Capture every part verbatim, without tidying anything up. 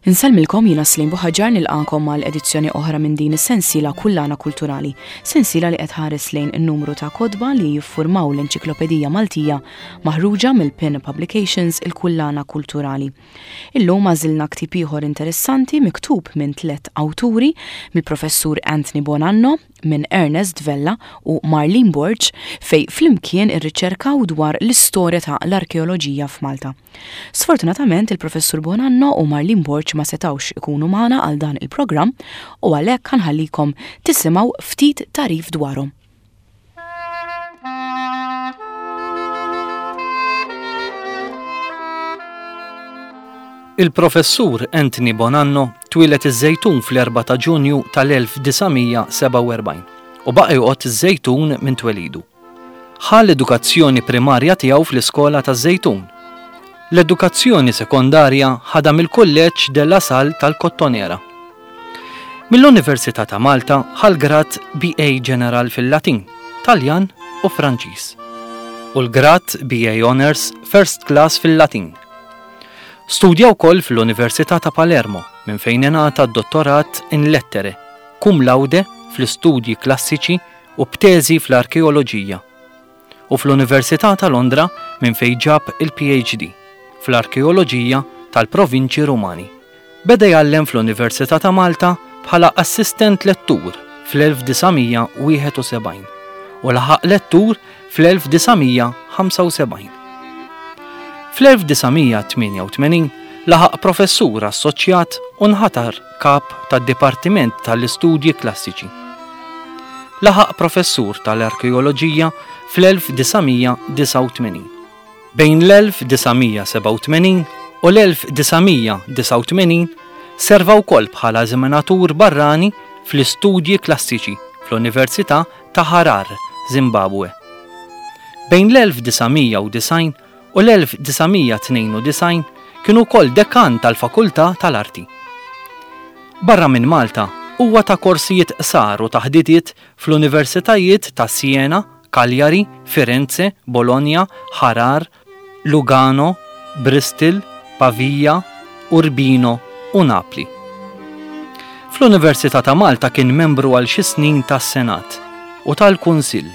Insellmilkom jiena Slim Buħaġar nilqakom għal edizzjoni oħra minn din is-sensiela Kullana Kulturali, sensiela li qed tħares lejn in-numru ta' kotba li jiffurmaw l-Enċiklopedija Maltija maħruġa mill-Pin Publications il-Kullana Kulturali. Illum għażilna ktieb ieħor interessanti miktub minn tliet awturi, mill-Professur Anthony Bonanno, minn Ernest Vella u Marlene Borg, fejn flimkien irriċerkaw dwar l-istorja ta' l-arkeoloġija f'Malta. Sfortunatament il-Professur Bonanno u Marlene Borg ma setawx ikunu magħna għal dan il-programm u għalhekk ħa nħallikom tisimgħu ftit tagħrif dwarhom. Il-Professur Anthony Bonanno twieled iż-Żejtun fl-erbgħa ta' Ġunju tal-elf disa' mija sebgħa u erbgħin u baqa' joqgħod iż-Żejtun minn twelidu. Ħa l-edukazzjoni primarja tiegħu fl-iskola taż-Żejtun. L-edukazzjoni sekondarja ħadha mill-Kulleġġ de la Salle tal-Kottonera. Mill-Università ta' Malta ħa l-grad B A General fil-Latin, Taljan u Franċiż u l-grad B A Honors First Class fil-Latin. Studja wkoll fl-Università ta' Palermo minn fejn ingħata d-dottorat in lettere, cum laude fl-istudji klassiċi u b'teżi fl-arkeoloġija, u fl-Università ta' Londra minn fejn ġab il-P H D fl-arkeoloġija tal-provinċi Rumani. Beda jgħallem fl-Università ta' Malta bħala assistent lettur fl-elf disa' mija wieħed u sebgħin u laħaq lettur fl-elf disa' mija ħamsa u sebgħin. Fl-elf disa' mija tmienja u tmenin laħaq professur assoċjat u nħatar kap tad-Dipartiment tal-Istudji Klassiċi. Laħaq professur tal-Arkeoloġija fl-elf disa' mija disa' u tmenin. Bejn l-elf disa' mija sebgħa u tmenin u l-elf disa' mija disa' u tmenin serva wkoll bħala eżaminatur barrani fl-istudji klassiċi fl-Università ta' Harar, Zimbabwe. Bejn l-elf disa' mija u disgħin u l-elf disa' mija tnejn u disgħin kienu wkoll dekan tal-Fakultà tal-Arti. Barra minn Malta huwa ta' korsijiet qsar u taħdidiet fl-universitajiet ta' Siena, Cagliari, Firenze, Bologna, Harar, Lugano, Bristol, Pavia, Urbino u Napli. Fl-Università ta' Malta kien membru għal xi snin tas-Senat u tal-Kunsill.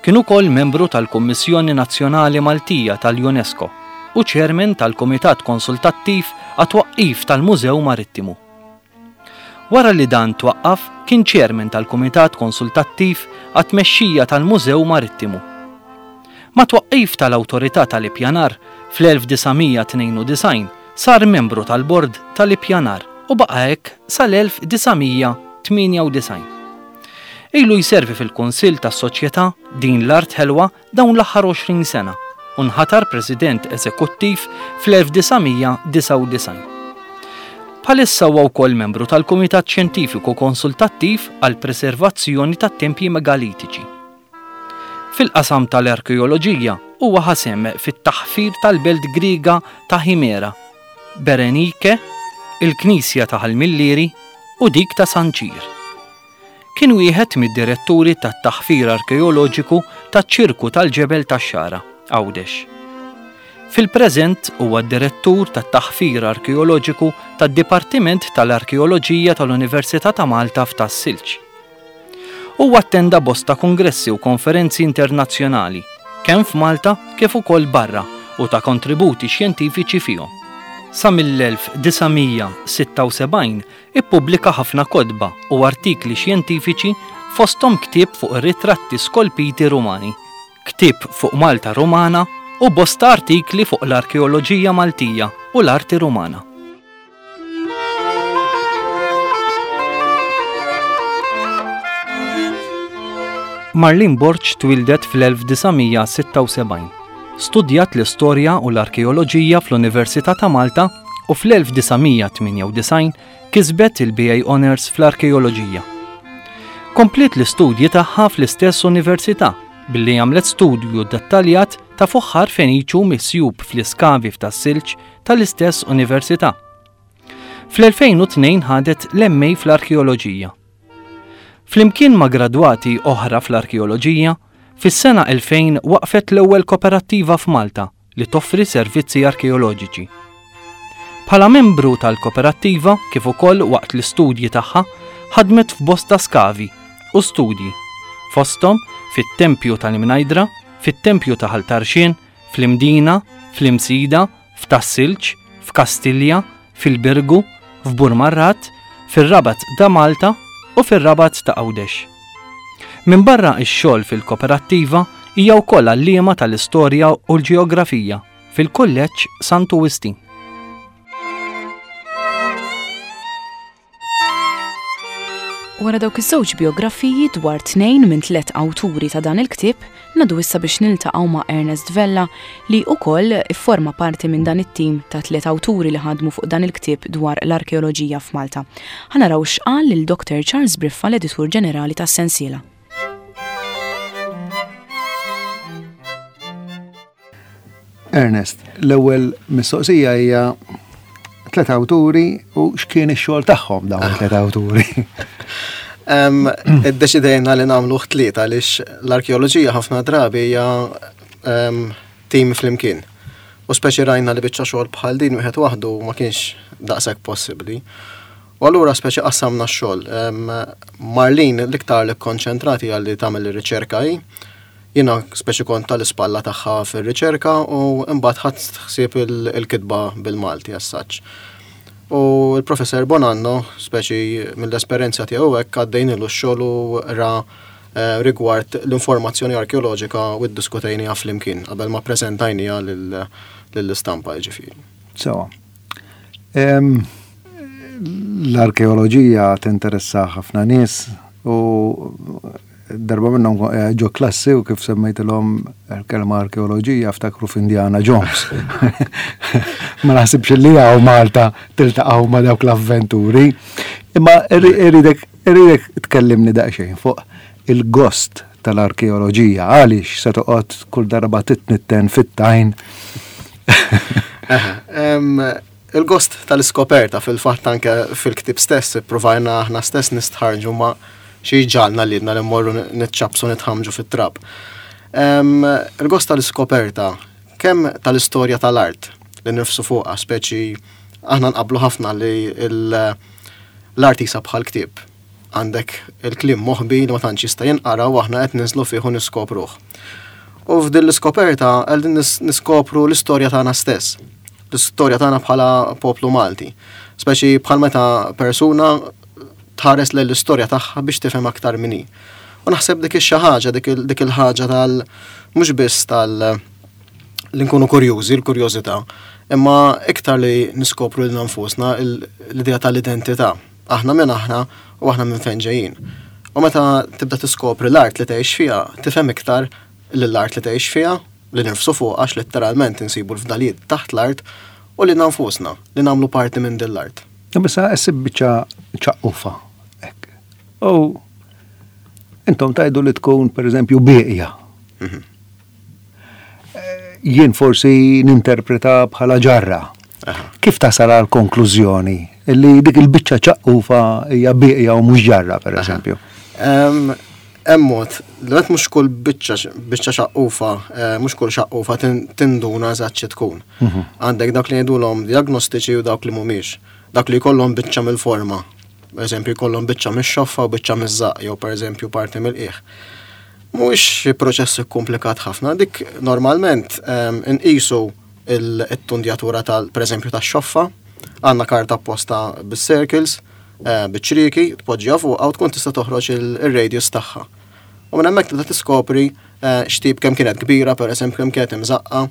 Kien ukoll membru tal-Kummissjoni Nazzjonali Maltija tal-UNESCO u chairman tal-Kumitat Konsultattiv għat-twaqqif tal-Mużew Marittimu. Wara li dan twaqqaf, kien chairman tal-Kumitat Konsultattiv għat-tmexxija tal-Mużew Marittimu. Ma' twaqqif tal-Awtorità tal-Ippjanar fl-elf disa' mija tnejn u disgħin sar membru tal-Bord tal-Ippjanar u baqa' hekk sal-elf disa' mija tmienja u disgħin. Ilu jservi fil-Kunsill tas-Soċjetà Din l-Art Ħelwa dawn l-aħħar għoxrin sena u nħatar President Eżekuttiv fl-elf disa' mija disa' u disgħin. Bħalissa huwa wkoll membru tal-Kumitat Xjentifiku Konsultattiv għall-Preservazzjoni tat-Tempji Megalitiċi. Fil-qasam tal-arkeoloġija huwa ħasem fit-taħfir tal-belt Griega ta' Himera, Berenike, il-Knisja ta' Ħal Millieri u dik ta' San Ċir. Kien wieħed mid-diretturi tat-taħfir arkeoloġiku taċ-ċirku tal-Ġebel tax-Xagħra, Għawdex. Fil-preżent huwa d-direttur tat-taħfir arkeoloġiku tad-Dipartiment tal-Arkeoloġija tal-Università ta' Malta f'Tas-Silġ. Huwa attenda bosta kongressi u konferenzi internazzjonali, kemm f'Malta kif ukoll barra, u ta' kontributi xjentifiċi fihom. Sa mill-elf disa' mija sitta u sebgħin ippubblika ħafna kotba u artikli xjentifiċi fosthom ktieb fuq ir-ritratti skolpiti Rumani, ktieb fuq Malta Rumana u bosta artikli fuq l-arkeoloġija Maltija u l-arti Rumana. Marlene Borg twildet fl-elf disa' mija sitta u sebgħin. Studjat l-istorja u l-arkeoloġija fl-Università ta' Malta u fl-elf disa' mija tmienja u disgħin kisbet il-B A Honors fl-arkeoloġija. Kompliet l-istudji tagħha fl-istess università billi għamlet studju dettaljat ta' fuħħar Feniċu misjub fl-iskavi f'Tas-Silġ tal-istess università. Fl-elfejn u tnejn ħadet l-M A fl-arkeoloġija. Flimkien ma' gradwati oħra fl-arkeoloġija, fis-sena elfejn waqfet l-ewwel kooperattiva f'Malta li toffri servizzi arkeoloġiċi. Bħala membru tal-Koperattiva kif ukoll waqt l-istudji tagħha ħadmet f'bosta skavi u studji, fosthom fit-Tempju tal-Imnajdra, fit-Tempju ta' Ħal Tarxien, fl-Imdina, fl-Imsida, f'Tas-Silġ, f'Kastilja, fil-Birgu, f'Burmarrat, fir-Rabat ta' Malta u fir-Rabat ta' Għawdex. Minbarra x-xogħol fil-Koperattiva hija wkoll għalliema tal-Istorja u l-Ġeografija fil-Kulleġġ Santu Wistin. Wara dawk iż-żewġ biografiji dwar tnejn minn tliet awturi ta' dan il-ktieb, ngħaddu issa biex niltaqgħu ma' Ernest Vella li wkoll ifforma parti minn dan it-tim ta' tliet awturi li ħadmu fuq dan il-ktieb dwar l-arkeoloġija f'Malta. Ħa naraw x'qal lil Doktor Charles Briffa, l-editur ġenerali tas-sensiela. Ernest, l-ewwel mistoqsija hija tliet awturi u x'kien ix-xogħol tagħhom dawn it-tliet awturi. Iddeċidejna li nagħmlu tlieta għaliex l-arkeoloġija ħafna drabi hija tim flimkien. U speċi rajna li biċċa xogħol bħal din wieħed waħdu ma kienx daqshekk possibbli. U allura speċi qassamna x-xogħol. Marlene l-iktar li kkonċentrati għal li tagħmel ir-riċerka hi. Jiena speċi kont tal-ispalla tagħha fir-riċerka u mbagħad ħadt ħsieb il-kitba bil-Malti as-saċ. U l-professor Bonanno, speċi mill-esperjenza tiegħu hekk għaddejnilu x-xogħol u ra rigward l-informazzjoni arkeoloġika u ddiskutejniha flimkien qabel ma ppreżentajniha lill-istampa jiġifieri. Sewa. L-arkeoloġija tinteressa ħafna nies u darba minnhom ġo klassi u kif semmejtilhom il-kelma arkeoloġija ftakru f'Indiana Jones. Ma naħsibx li hawn Malta tiltaqgħu ma' dawk l-avventuri. Imma irridek irridek tkellimni daqsxejn fuq il-gost tal-arkeoloġija, għaliex se toqgħod kull darba titnitten fit-tajn. Il-gost tal-iskoperta fil-fatt anke fil-ktieb stess ippruvajna aħna stess nistħarġu ma' xi ġalna lilna li mmorru nitċapsu nitħamġu fit-trab. Il-gost tal-iskoperta, kemm tal-istorja tal-art li nifsu fuqha, speċi aħna nqablu ħafna li l-art jisa bħal ktieb. Għandek il-kliem moħbi li ma tantx jista' jinqara u aħna qed ninżlu fih u niskopruh. U f'din l-iskoperta qegħdin niskopru l-istorja tagħna stess, l-istorja tagħna bħala poplu Malti. Speċi bħal meta persuna tħares lejn l-istorja tagħha biex tifhem aktar min hi. U naħseb dik ix-xi ħaġa, dik il-ħaġa tal mhux biss tal li nkunu kurjużi, l-kurjożità, imma iktar li niskopru lilna nfusna l-idea tal-identità. Aħna minn aħna u aħna minn fejn ġejjin. U meta tibda tiskopri l-art li tgħix fiha, tifhem iktar lill-art li tgħix fiha, li nirfsu fuq għax letteralment insibu l-fdalijiet taħt l-art u lilna nfusna li nagħmlu parti minn din l-art. Issa issib biċċa ċaqqufa. U intom tajdu li tkun per eżempju bieqja. Jien forsi ninterpreta bħala ġarra. Kif tasal għal konklużjoni li dik il-biċċa ċaqqufa hija bieqja u mhux ġarra per eżempju? Hemm mod, li mhux kull biċċa biċċa xaqqufa, mhux kull xaqqufa tinduna eżatt xi tkun. Għandek dak li ngħidulhom diagnostiċi u dawk li mhumiex. Dak li jkollhom biċċa mill-forma. Per eżempju, jkollhom biċċa mix-xoffa u biċċa miż-żaqq, jew per eżempju parti mill-qiegħ. Mhuwiex proċess ikkumplikat ħafna, dik normalment inqisu it-tundjatura tal per eżempju tax-xoffa, għandna karta apposta bis-circles, biċ-ċrieki, tpoġġiha fuqha u tkun tista' toħroġ ir-radius tagħha. U minn hemmhekk tibda tiskopri x'tip kemm kienet kbira, per eżempju kemm kienet imżaqqa.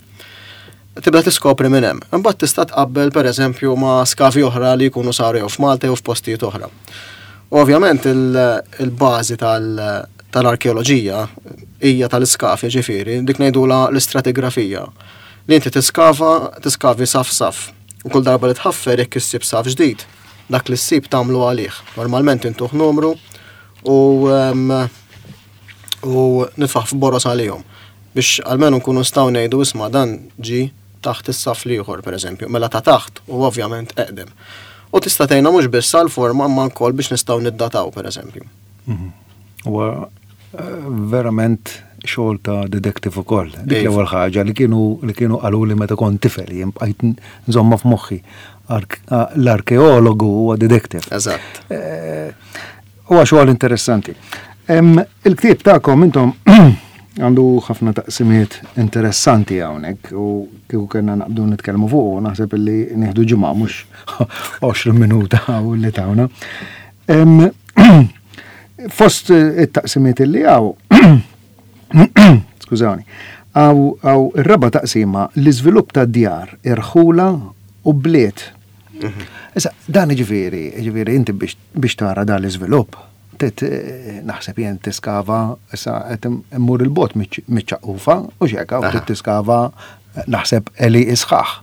Tibda tiskopri minn hemm. Imbagħad tista' tqabbel pereżempju ma' skavi oħra li jkunu saru jew f'Malta jew f'postijiet oħra. U ovvjament il-bażi tal-arkeoloġija hija tal-iskafi, ġifieri, dik ngħidulha l-istratigrafija. Li inti tiskava, tiskavi saf saf. U kull darba li tħaffer jekk issib saf ġdid, dak li ssib tagħmlu għalih. Normalment intuh numru u u nitfaħ f'boros għalihom biex almenu nkunu nistgħu ngħidu isma' dan ġi taħt is-saf l-ieħor pereżempju, mela ta' taħt u ovvjament eqdem. U tista' tgħinna mhux biss għall-forma imma wkoll biex nistgħu niddataw pereżempju. Huwa verament xogħol ta' detective ukoll. Dik l-ewwel ħaġa li kienu li kienu qaluli meta kont tifel, jien bqajt nżomma f'moħħi. L-arkeologu huwa detective. Eżatt. Huwa xogħol interessanti. Il-ktieb tagħkom intom għandu ħafna taqsimiet interessanti hawnhekk u kieku kellna naqbdu nitkellmu fuq, naħseb illi nieħdu ġimgħa, mhux għoxrin minuta u li tawna. Fost it-taqsimiet illi hawn, skużawni, hawn ir-raba' taqsima, l-iżvilupp ta' djar, irħula u bliet. Mhm. Issa, dan ġifieri, ġifieri inti biex tara dan l-iżvilupp, naħseb jien tiskava, issa qed immur il-bot miċ-ċaqqufa u xeka, u tiskava naħseb għelieqi sħaħ.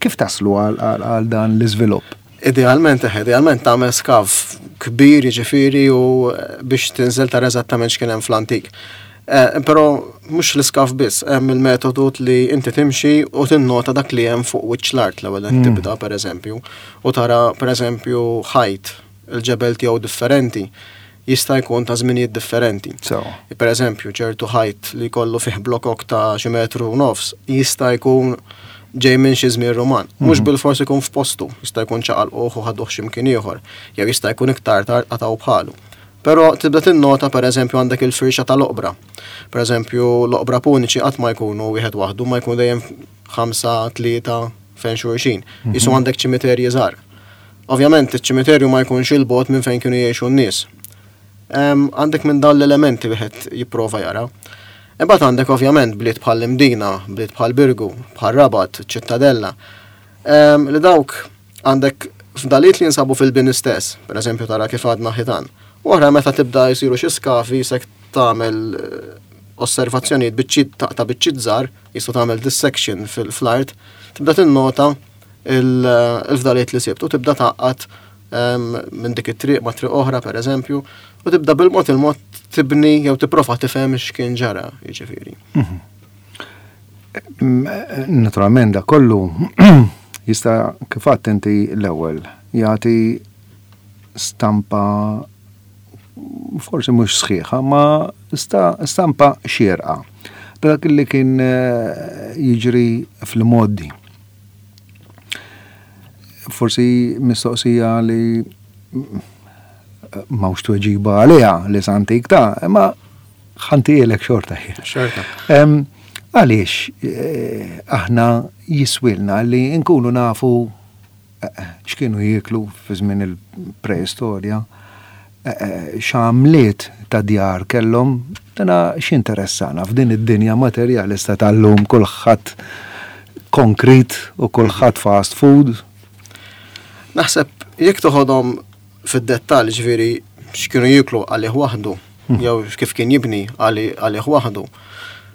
Kif taslu għal dan l-iżvilupp? Idealment, idealment tagħmel skav kbir, ġifieri, u biex tinżel tara eżattament x'kien hemm fl-antik. Eh, però mhux l-iskav biss, hemm il-metodu li inti timxi u tinnota dak li hemm fuq wiċċ l-art l-ewwel mm. tibda, pereżempju, u tara, pereżempju, ħajt il-ġebel tiegħu differenti jista' jkun ta' żminijiet differenti. So. Per eżempju, ċertu ħajt li jkollu fih blokok ta' xi metru u nofs jista' jkun ġej minn xi żmien Ruman. Mhux mhm. bil-fors ikun f'postu, jista' jkun ċaqalquh u ħaduh xi mkien ieħor, jew jista' jkun iktar tard qatgħu bħalu. Però tibda tinnota, per eżempju, għandek il-firxa tal-oqbra. Per eżempju, l-oqbra puniċi qatt ma jkunu wieħed waħdu, ma jkunu dejjem ħamsa, tlieta fejn xulxin. Mhm. Jisu għandek ċimiterji żgħar. Ovvjament, iċ-ċimiterju ma jkunx il-bogħod minn fejn kienu jgħixu n-nies. Għandek minn dawn l-elementi wieħed jipprova jara. Imbagħad għandek ovvjament bliet bħal Imdina, bliet bħal Birgu, bħal Rabat, Ċittadella. Li dawk għandek fdaliet li jinsabu fil-bini stess, per eżempju tara kif għadna ħitan. U oħra meta tibda jsiru xi skavi sek tagħmel eh, osservazzjonijiet, biċċiet, taqta' biċċiet żgħar, jistgħu tagħmel dissection fil-art, tibda tinnota il-fdaliet li sibt u tibda taqqat minn dik it-triq ma' triq oħra, per eżempju, u tibda bil-mod il-mod tibni jew tipprova tifhem x'kien ġara, jiġifieri. Mhm. Naturalment da kollu jista', kif għedt inti l-ewwel, jagħti stampa forsi mhux sħiħa, ma stampa xierqa dak li kien eh, jiġri fl-modi. Forsi mistoqsija li m'hawnx tweġiba għaliha li santik ta' imma ħa ntihielek xorta. Xorta. Għaliex eh, aħna jiswilna li nkunu nafu eh, x'kienu jieklu fi żmien il-preistorja, eh, x'għamliet ta' djar kellhom, dana x'interessana f'din id-dinja materjalista tal-lum, kulħadd konkrit u kulħadd fast food? Naħseb jekk toħodhom fid-dettall, ġifieri x'kienu jieklu għalih waħdu, hmm. jew kif kien jibni għalih waħdu.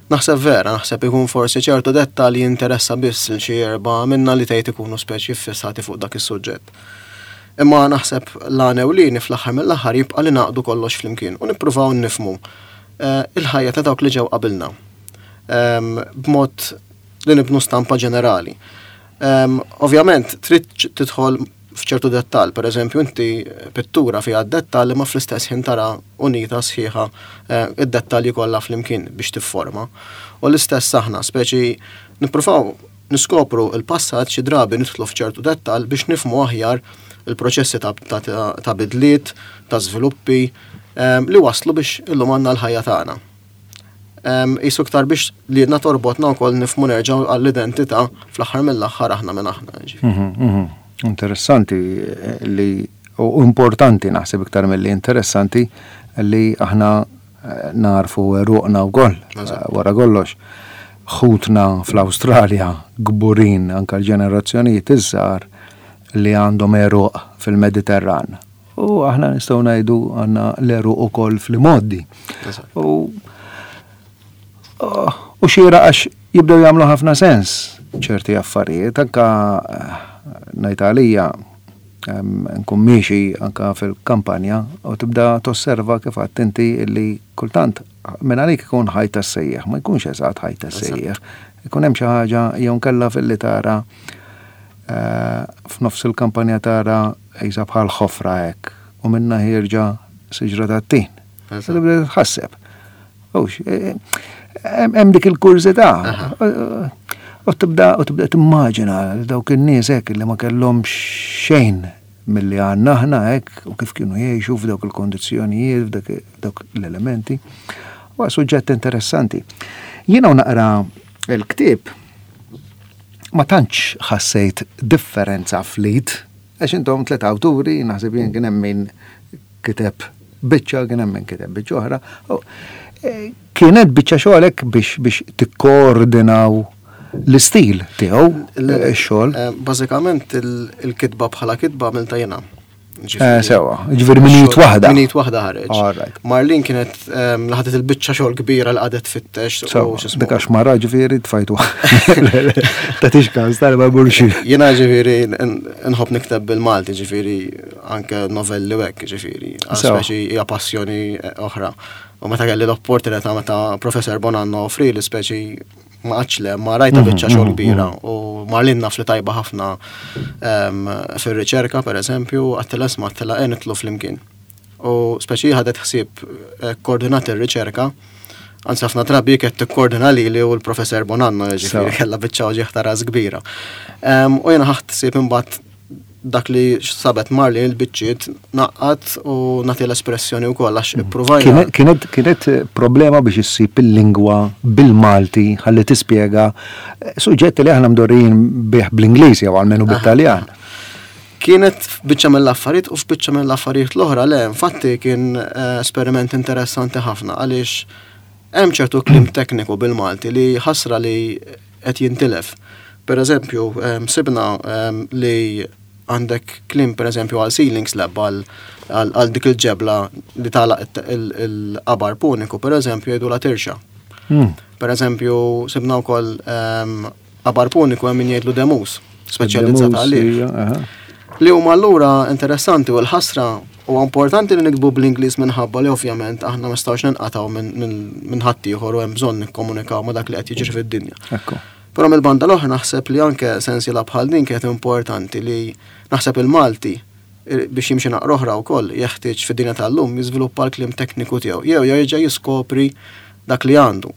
Naħseb vera, naħseb ikun forsi ċertu dettal li jinteressa biss il xi erba' minna li tgħid ikunu speċi fissati fuq dak is-suġġett. Imma naħseb l-għan ewlieni fl-aħħar mill-aħħar jibqa' li naqdu kollox flimkien u nippruvaw nifmu eh, il-ħajja ta' dawk li ġew qabilna. Ehm, b'mod li nibnu stampa ġenerali. Ehm, ovvjament, trid tidħol f'ċertu dettal, per eżempju, inti pittura fiha dettal ma fl-istess ħin tara unita sħiħa, eh, id-dettalji kollha flimkien biex tifforma. U l-istess aħna, speċi nippruvaw niskopru il-passat, xi drabi nidħlu f'ċertu dettal biex nifmu aħjar il-proċessi ta', ta, ta bidliet, ta' żviluppi eh, li waslu biex illum għandna l-ħajja tagħna. Jisu iktar biex li jedna torbotna wkoll nifmu nerġgħu għall-identità, fl-aħħar mill-aħħar aħna minn aħna. Mhm, mhm. Interessanti li u importanti, naħseb iktar mill-li interessanti, li aħna eh, narfu għeruqna wkoll eh, wara kollox. Ħutna fl-Awstralja kburin, anka l-ġenerazzjonijiet iż-żgħar, li għandhom għeruq fil-Mediterran. U aħna nistgħu ngħidu għandna l-għeruq ukoll fl-imgħoddi. U u xira għax jibdew jagħmlu ħafna sens ċerti affarijiet, anka eh, ngħid għalija, nkun miexi anka fil-kampanja u tibda tosserva, kif għedt inti, illi kultant minn għalik ikun ħajt tas-sejjeħ, ma jkunx eżatt ħajt tas-sejjeħ. Ikun hemm xi ħaġa jew nkella fil-li tara eh, f'nofs il-kampanja, tara qisha bħal ħofra hekk u minna ħierġa siġra tat-tin. Tibda tħasseb. Eh, hemm dik il-kurżità. U tibda u tibda timmaġina dawk in-nies hekk li ma kellhom xejn milli għandna aħna hekk u kif kienu jgħixu f'dawk il-kondizzjonijiet, f'dawk l-elementi. Huwa suġġett interessanti. Jiena naqra l-ktieb ma tantx ħassejt differenza fl-id, għax intom tliet awturi, naħseb jien kien hemm min kiteb biċċa, kien hemm min kiteb biċċa oħra. Kienet biċċa xogħol biex biex tikkoordinaw l-istil tiegħu x-xogħol. Bażikament il-kitba bħala kitba għamiltha jiena. Sewa, ġifieri minn id waħda. Minn id waħda ħareġ. Marlin kienet laħdet il-biċċa xogħol kbira li qagħdet tfittex. Dik għax mara ġifieri tfajtu. Tagħtix każ tal ma burxi. Jiena ġifieri nħobb nikteb bil-Malti, ġifieri anke novelli u hekk, ġifieri. Speċi hija passjoni oħra. U meta kelli l-opportunità meta Professor Bonanno offri li speċi ma għadx le, ma rajta biċċa xogħol kbira u Marlin naf li tajba ħafna fir-riċerka pereżempju, għedtilha isma' għedtilha e nidħlu flimkien. U speċi ħadet ħsieb koordinat ir-riċerka, anzi ħafna drabi kienet tikkoordina lili u l-Professor Bonanno, ġifieri kellha biċċa uġigħ ta' ras kbira. U jiena ħadt ħsieb imbagħad dak li sabet Marlin il-biċċiet naqqat u nagħti l-espressjoni wkoll għax ippruvajna. Kienet kienet problema biex issib il-lingwa bil-Malti ħalli tispjega suġġetti li aħna mdorrijin bih bl-Ingliż jew almenu bit-Taljan. Kienet f'biċċa mill-affarijiet u f'biċċa mill-affarijiet l-oħra le, infatti kien esperiment interessanti ħafna għaliex hemm ċertu kliem tekniku bil-Malti li ħasra li qed jintilef. Per eżempju, sibna li għandek kliem per eżempju għal ceiling slab, għal dik il-ġebla li tagħlaq il-qabar puniku, per eżempju jgħidu la tirxa. Per eżempju, sibna wkoll qabar puniku hemm min jgħidlu demus, speċjalizzat għalih. Li huma allura interessanti u l-ħasra huwa importanti li niktbu bl-Ingliż minħabba li ovvjament aħna ma nistgħux ninqatgħu minn ħaddieħor u hemm bżonn nikkomunikaw ma' dak li qed jiġri fid-dinja. Però mill-banda l-oħra naħseb li anke sensiela bħal din kienet importanti li naħseb il-Malti biex jimxi naqra oħra wkoll jeħtieġ fid-dinja tal-lum jiżviluppa l-kliem tekniku tiegħu jew jerġa' jiskopri dak li għandu.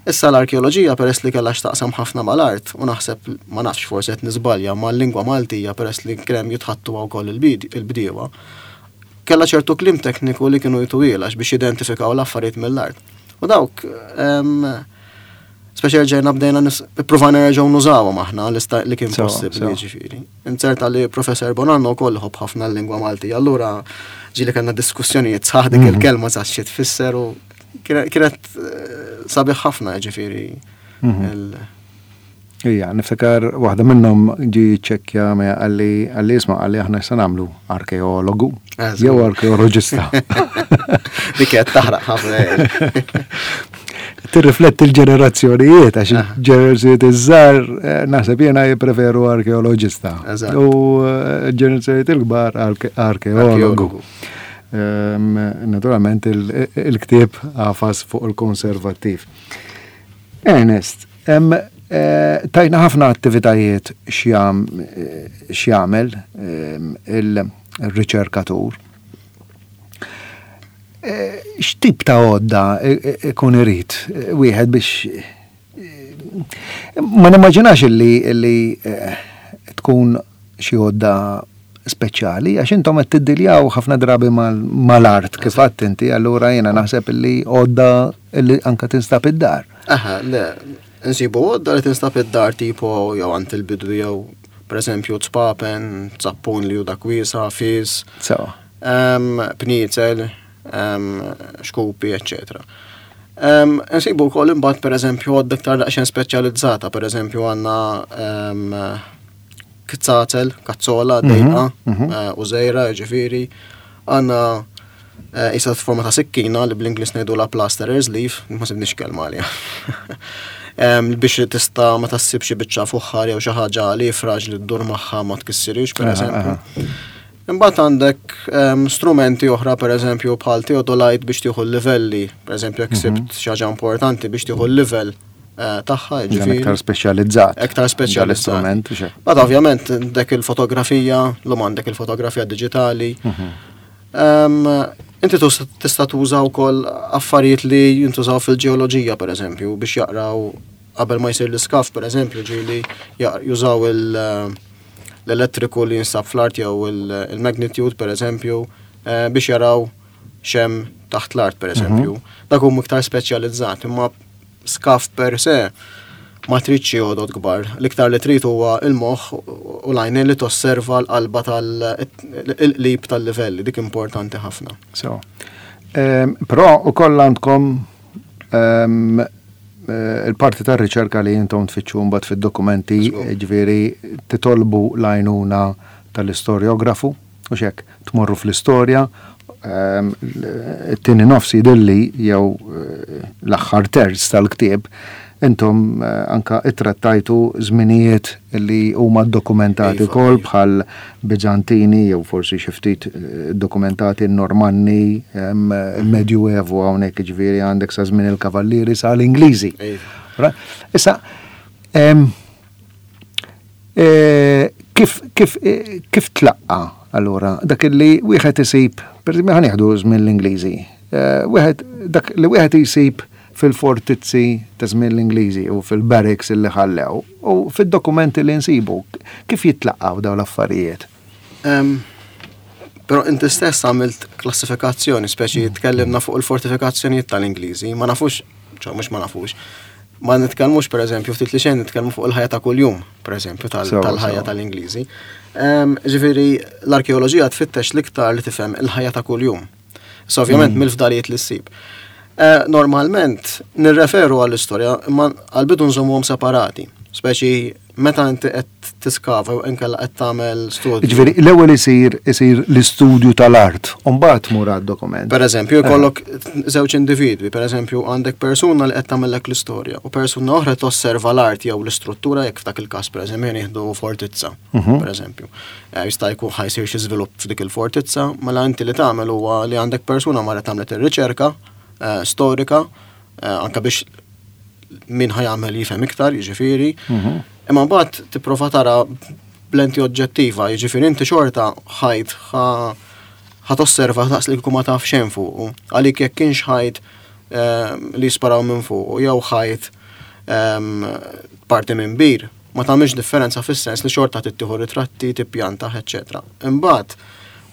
Issa l-arkeoloġija peress li kellha x'taqsam ħafna mal-art u naħseb ma nafx forsi qed niżbalja mal-lingwa Maltija peress li krem jitħattu wkoll il-bdiewa, kellha ċertu kliem tekniku li kienu jtuwielax biex jidentifikaw l-affarijiet mill-art. U dawk speċi rġajna bdejna ippruvajna nerġgħu nużawhom aħna li kien possibbli ġifieri. Inzerta li Professor Bonanno wkoll ħobb ħafna l-lingwa Maltija, allura ġieli kellna diskussjonijiet sħaħ dik il-kelma sa xi tfisser u kienet sabiħ ħafna ġifieri. Ija, niftakar waħda minnhom ġi ċekkja me għalli għalli isma' għalli aħna se nagħmlu arkeologu jew arkeoloġista. Dik qed taħraq ħafna. Tirrifletti l-ġenerazzjonijiet, għax il-ġenerazzjonijiet iż-żgħar naħseb jiena jippreferu arkeoloġista. U l-ġenerazzjonijiet il-kbar arkeologu. Naturalment il-ktieb għafas fuq il-konservattiv. Ernest, tajna ħafna attivitajiet x'jagħmel il-riċerkatur. X'tip ta' għodda ikun irid wieħed biex ma nimmaġinax illi tkun xi għodda speċjali għax intom qed tiddiljaw ħafna drabi mal-art kif għedt inti, allura jiena naħseb illi għodda illi anke tinstab id-dar. Aha, le, nsibu għodda li tinstab id-dar tipo jew għand il-bidwi jew pereżempju tzpapen, zappun li hu dak wiesa', fis, pniezel, xkupi, eccetera. Nsibu wkoll imbagħad pereżempju għodda iktar daqsxejn speċjalizzata, pereżempju għandna kzazel, kazzola, dejqa, u żejra, ġifieri, għandna isa forma ta' sikkina li bl-Ingliż ngħidu la plasterer's leaf, ma sibniex kelma għaliha. Biex tista' ma tassib xi biċċa fuħħar jew xi ħaġa li fraġli li ddur magħha ma tkissirix pereżempju. Imbagħad għandek strumenti oħra pereżempju bħal theodolite biex tieħu l-livelli, pereżempju jekk sibt xi ħaġa importanti biex tieħu l-livell tagħha, ġifieri. Aktar speċjalizzat. Aktar speċjalizzat. Bad ovvjament dak il-fotografija, l-lum għandek il-fotografija diġitali. Inti tista' tuża wkoll affarijiet li jintużaw fil-ġeoloġija pereżempju biex jaqraw Qabel ma jsir l-iskav, per eżempju, ġieli jużaw l-elettriku li jinsab fl-art jew il-magnitude, per eżempju, eh, biex jaraw x'hemm taħt l-art, per eżempju. Mhm. Dak hu iktar speċjalizzat, imma skav per se ma tridx għodod kbar. L-iktar li trid huwa il-moħħ u l-għajnejn li tosserva l-qalba tal-qlib tal-livelli, dik importanti ħafna. So, però ukoll għandkom eh, il-parti tar-riċerka li jintom tfittxu mbagħad fid-dokumenti, ġifieri titolbu l-għajnuna tal-istoriografu, u xek, tmorru fl-istorja, it-tieni nofs jidhirli jew eh, l-aħħar terz tal-ktieb intom eh, anka ittrattajtu żminijiet li huma dokumentati iva, kol iva. Bħal Bizantini jew forsi xi ftit eh, dokumentati Normanni, il-Medjuevu hawnhekk, ġifieri għandek sa żmien il-Kavallieri sa l-Ingliżi. Iva. Issa, kif kif kif tlaqqa allura dak li wieħed isib, per eżempju ħa nieħdu żmien l-Ingliżi, wieħed dak li wieħed isib fil-fortizzi ta' żmien l-Ingliżi u fil-barracks li ħallew u fid-dokumenti li nsibu, kif jitlaqgħu dawn l-affarijiet? Però inti stess għamilt klassifikazzjoni, speċi tkellimna fuq il-fortifikazzjonijiet tal-Ingliżi, ma nafux, ċo mhux ma nafux, ma nitkellmux, per eżempju, ftit li xejn nitkellmu fuq il-ħajja ta' kuljum, per eżempju, tal-ħajja tal-Ingliżi. Ġifieri l-arkeoloġija tfittex l-iktar li tifhem il-ħajja ta' kuljum. So ovvjament mm. mill-fdalijiet li ssib. Eh, normalment nirreferu għall-istorja, imma għal-bidu nżommuhom separati. Speċi meta inti qed tiskava jew inkella qed tagħmel studju. Ġifieri l-ewwel isir isir l-istudju tal-art, u mbagħad tmur għad-dokument. Per eżempju, jkollok żewġ individwi, per eżempju, għandek persuna li qed tagħmellek l-istorja u persuna oħra tosserva l-art jew l-istruttura, jekk f'dak il-każ, per eżempju, nieħdu fortizza, mhm. per eżempju. Eh, jista' jkun ħa jsir xi żvilupp f'dik il-fortizza, mela inti li tagħmel huwa li għandek persuna marret għamlet ir-riċerka eh, storika, eh, anka biex min ħa jagħmel jifhem iktar, jiġifieri. Mhm. Imma mbagħad tipprova tara b'lenti oġġettiva, jiġifieri inti xorta ħajt ħa tosserva daqs li kieku ma taf xejn fuq. Għalik jekk kienx ħajt ehm, li jisparaw minn fuq jew ħajt ehm, parti minn bir, ma tagħmilx differenza fis-sens li xorta tittieħu ritratti, tippjanta, eċċetera. Imbagħad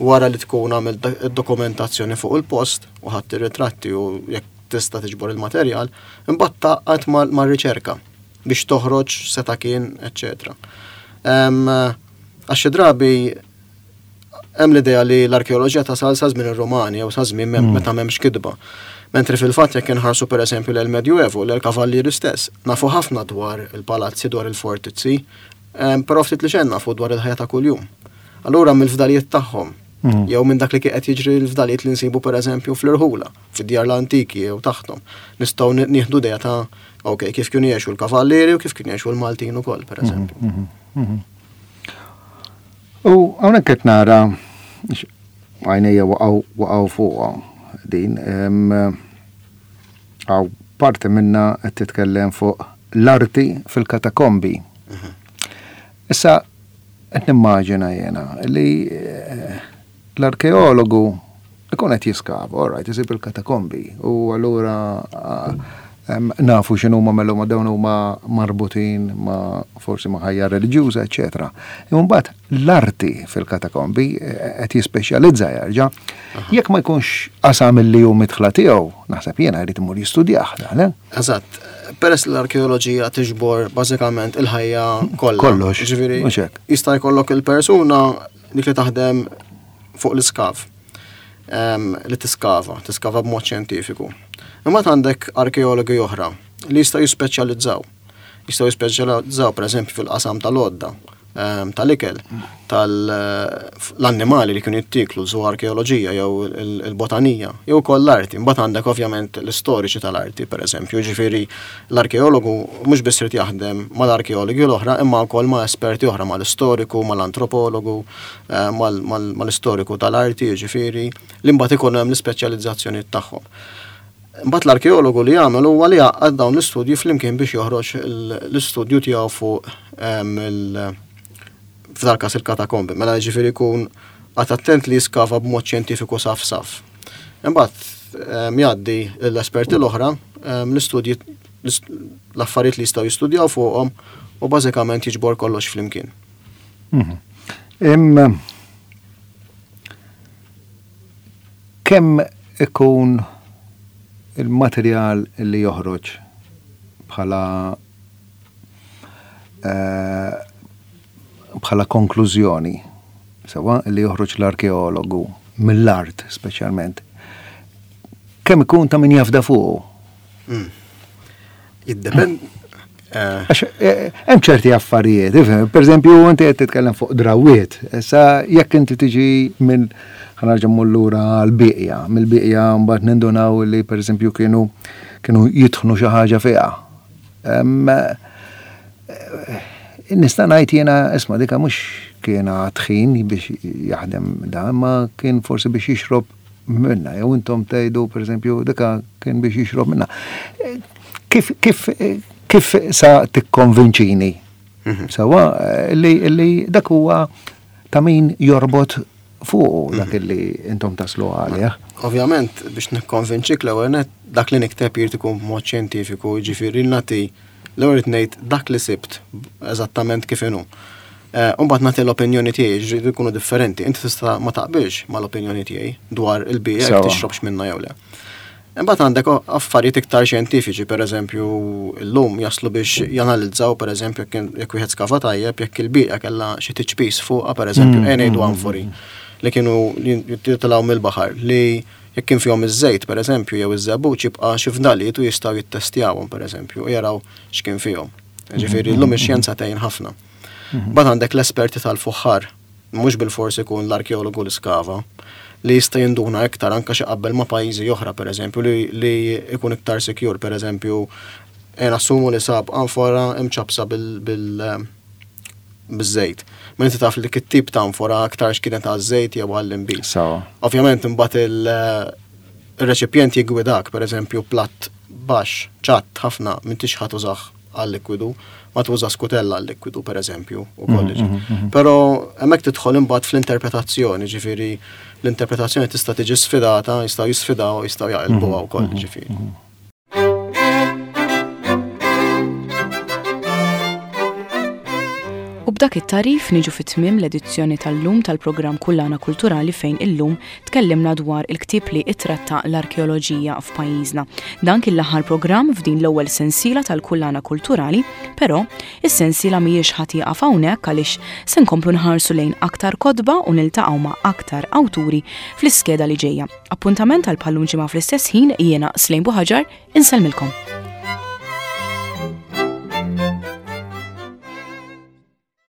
wara li tkun għamilt id-dokumentazzjoni fuq il-post u ħadd ir-ritratti u jekk tista' tiġbor il-materjal, imbagħad taqgħad mar-riċerka biex toħroġ seta' kien, eċċetera. Għax xi drabi hemm l-idea li l-arkeoloġija tasal sa żmien ir-Rumani jew sa żmien mm. meta m'hemmx kitba. Mentri fil-fatt jekk inħarsu, pereżempju, l Medjuevu, l-Kavallieri stess, nafu ħafna dwar il-palazzi, dwar il-fortizzi, però ftit li xejn nafu dwar il-ħajja ta' kuljum. Allura mill-fdalijiet tagħhom mm. jew minn dak li qed jiġri, l-fdalijiet li nsibu, pereżempju, fl-irħula, fid-djar l-antiki jew taħtom, nistgħu nieħdu idea ta' ok, kif kienu jgħixu l-kavallieri u kif kienu jgħixu l-Maltin ukoll, pereżempju. Mhm, mhm, mhm. U hawnhekk qed nara, għajnejja waqgħu waqgħu fuqha din, għaw parti minna qed titkellem fuq l-arti fil-katakombi. Issa qed nimmaġina jena li eh, l-arkeologu ikun qed jiskava, all right, isib il-katakombi u allura nafu x'inhuma, mela ma dawn huma marbutin ma forsi ma ħajja reliġjuża, eċetera. Imma mbagħad l-arti fil-katakombi eh, qed jispeċjalizza jerġa'. Jekk ma jkunx qasam li hu midħla tiegħu, naħseb jiena jrid imur jistudjah dan, eh? Eżatt. Peress l-arkeoloġija tiġbor bażikament il-ħajja kollha. Kollox. Ġifieri jista' jkollok il-persuna dik li taħdem fuq l-iskav li tiskava, tiskava b'mod xjentifiku. Imma għandek arkeologi oħra li jistgħu jispeċjalizzaw. Jistgħu jispeċjalizzaw, pereżempju, fil-qasam tal-għodda, tal-ikel, tal-annimali li kienu jittiklu, arkeoloġija jew il-botanija, jew ukoll l-arti. Mbagħad għandek ovvjament l-istoriċi tal-arti, pereżempju, ġifieri l-arkeologu mhux biss irid jaħdem mal-arkeologi l-oħra, imma wkoll ma' esperti oħra, mal-istoriku, mal-antropologu, eh, mal-istoriku tal-arti, ġifieri li mbagħad ikun hemm l-ispeċjalizzazzjoni tagħhom. Mbagħad l-arkeologu li jagħmel huwa li jgħaqqad dawn l-istudji flimkien biex joħroġ l-istudju tiegħu fuq il f'dal każ il-katakombi. Mela ġifieri jkun għad attent li jiskava b'mod xjentifiku saf saf. Imbagħad jgħaddi l-esperti l-oħra l-istudji l-affarijiet li jistgħu jistudjaw fuqhom u bażikament jiġbor kollox flimkien. Mhm. Im kemm ikun il-materjal li joħroġ bħala eh, bħala konklużjoni, sewa li joħroġ l-arkeologu mill-art speċjalment, kemm ikun ta' min jafda fuqu? Mm. Jiddepend. Eh. Għax eh, hemm ċerti affarijiet, ifhem, pereżempju inti qed titkellem fuq drawiet, issa jekk inti tiġi minn ħa nerġa' mmur lura għall-bieqja, mill-bieqja mbagħad nindunaw li pereżempju kienu kienu jitħnu xi ħaġa fiha. Em, eh, Nista' ngħid jiena isma' dika mhux kien tħin biex jaħdem dan, ma kien forsi biex jixrob minna, jew intom tgħidu pereżempju dika kien biex jixrob minna. Eh, Kif kif kif sa tikkonvinċini? Sewa eh, li li dak huwa ta' min jorbot fuqu dak li intom taslu għalih. Ovvjament, biex nikkonvinċik l-ewwel nett dak li nikteb jrid ikun b'mod xjentifiku, jiġifieri nagħti l-ewwel irid ngħid dak li sibt eżattament kif inhu. Eh, U mbagħad nagħti l-opinjoni tiegħi, ġridu jkunu differenti. Inti tista' ma taqbilx mal-opinjoni tiegħi dwar il-bija jekk Sewa. tixrobx minna jew le. Imbagħad għandek affarijiet iktar xjentifiċi, pereżempju llum jaslu biex janalizzaw pereżempju jekk jekk wieħed skava tajjeb jekk il-bieqa kellha xi tiċpis fuqha pereżempju mm, ngħidu anfori li kienu jitilgħu mill-baħar li jekk kien fihom iż-żejt pereżempju jew iż-żebbuġ jibqa' xi fdalijiet u jistgħu jittestjawhom pereżempju u jaraw x'kien fihom. Ġifieri llum ix-xjenza tgħin ħafna. Mbagħad għandek l-esperti tal-fuħħar, mhux bil-fors ikun l-arkeologu li skava, li jista' jinduna iktar anke xi qabel ma' pajjiżi oħra pereżempju li, li ikun iktar secure pereżempju e nassumu li sab anfora imċapsa bil, bil biż-żejt. Ma inti taf li dik it-tip ta' anfora aktar x'kienet għaż-żejt jew għall-inbid. Sawa. Ovvjament imbagħad il- il-reċipjent jiggwidak, pereżempju platt baxx, ċatt ħafna m'intix ħa tużah għal-likwidu, ma tuża skutella għal-likwidu pereżempju u kollox. Però hemmhekk tidħol imbagħad fl-interpretazzjoni, ġifieri l-interpretazzjoni tista' tiġi sfidata, jistgħu jisfidaw, jistgħu jaqilbuha wkoll, ġifieri. U b'dak it-tarif niġu fit-tmiem l-edizzjoni tal-lum tal-programm Kullana Kulturali fejn illum tkellimna dwar il-ktieb li ittratta l-arkeoloġija f'pajjiżna. Dan kien l-aħħar programm f'din l-ewwel sensiela tal-Kullana Kulturali, però is-sensiela mhijiex ħa tieqaf hawnhekk għaliex se nkomplu nħarsu lejn aktar kotba u niltaqgħu ma' aktar awturi fl-iskeda li ġejja. Appuntament għal bħallum ġimgħa fl-istess ħin jiena Slejn Buħaġar insellmilkom.